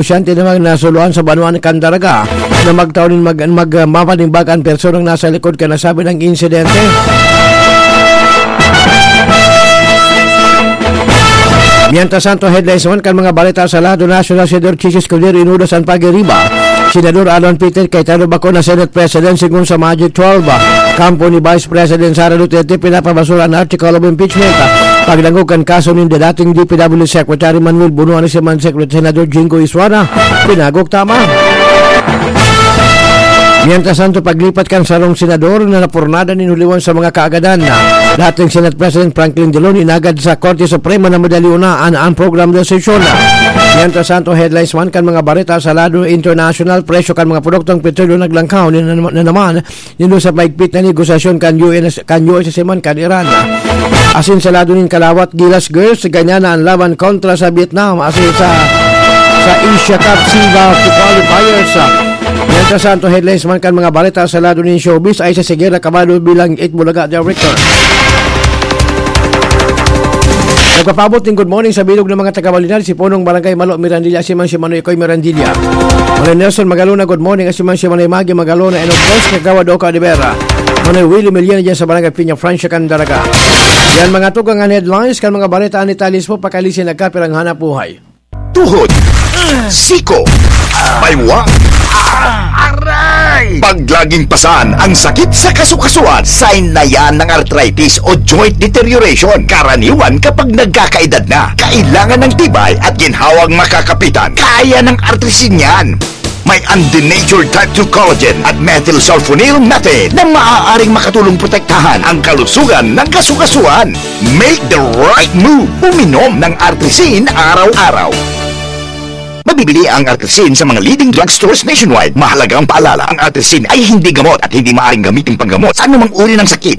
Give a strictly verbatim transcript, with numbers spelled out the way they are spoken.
negosyante naman na suluan sa banwaan kan Daraga na magtao nin mag-, mag-, mapanimbaga an personang nasa likod kan nasabing insidente. Mientras tanto, headlines naman kan mga balita sa lado nasyonal, Senador Chiz Escudero inudas an pagiriba. Senador Alan Peter Cayetano bako na Senate President sigon sa Magic twelve. Kampo ni Vice President Sara Duterte pinapabasura an article of impeachment. Pagdangog kan kaso nin dating D P W Secretary Manuel Bonoan, si man Secretary Senador Jinggoy Estrada, pinagok tama. Mientras tanto, paglipat kan sarong senador na napurnada nin huliwan sa mga kaagadan na dating Senate President Franklin Drilon, inagad sa Korte Suprema na madali unaan ang program de sesyon. Mientras tanto, headlines man kan mga bareta sa lado international, presyo kan mga produktong petrolyo naglangkaw ni na, na naman nindo sa maigpit na negosasyon kan U N S, kan U S S man kan Iran. Asin sa lado nin kalawat, gilas girls, ganyan na ang laban kontra sa Vietnam. Asin sa, sa Asia Cup, SIBA qualifiers. Mientras tanto, headlines man kan mga balita sa lado nin showbiz ay si Siger Acabado bilang Itbulaga Director. Nagpapaabot ning good morning sa bilog ng mga taga-Balinan, si Punong Barangay Malo Mirandilla, si man si Manoy Koy Mirandilla. Manoy Nelson Magalona, good morning, si man si Manoy Magi Magalona, and of course, Kagawad Oka de Vera. Manoy Willie Milian dyan sa Barangay Piña Francia, Candaraga. Yan mga tugang an headlines kan mga balita ni Talis po, pakalisin nagkapirang hanap buhay. Tuhod, siko, baywa, aray! Pag laging pasan ang sakit sa kasukasuan, sign na yan ng arthritis o joint deterioration. Karaniwan kapag nagkakaedad na, kailangan ng tibay at ginhawang makakapitan. Kaya ng Artrisin yan. May undenatured type two collagen at methylsulfonyl methane na maaaring makatulong protektahan ang kalusugan ng kasukasuan. Make the right move. Uminom ng Artrisin araw-araw. Mabibili ang Artrisin sa mga leading drugstores nationwide. Mahalagang paalala, ang Artrisin ay hindi gamot at hindi maaaring gamitin panggamot sa anumang uri ng sakit.